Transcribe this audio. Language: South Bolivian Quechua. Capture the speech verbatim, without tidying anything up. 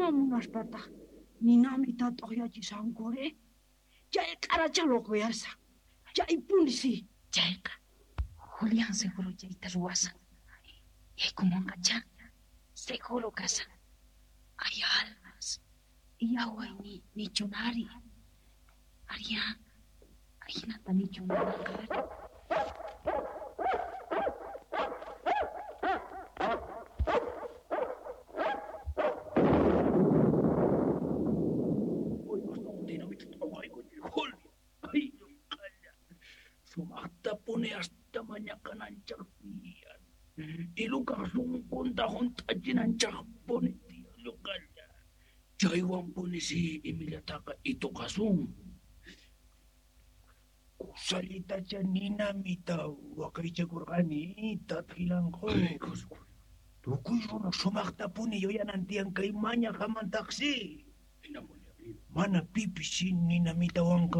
Ima munaspataj ninamita t'oqyachishankuri? Chay q'aracha locoyashan. Chaypuni si. Chayqa Julián seguro chayta ruwasan. Yaykumonqachá. Seguro kasan. Ay, almas. Yaway ni nichunari. Aria, ajinata nichunanaqari. Sumaqtapuni hasta mañakananchaq tiyan. Ilukaq sunqunta hunt'achinanchaqpuni tiyan lluqalla. Chaywanpuni si imillataqa ituqasun. Kusallitacha ninamita waqaychakurqani tatqilanqu. Tukuy runa sumaqtapuni yuyanan tiyan kay mañaqamantaqsi. Mana pipis si ninamitawanqa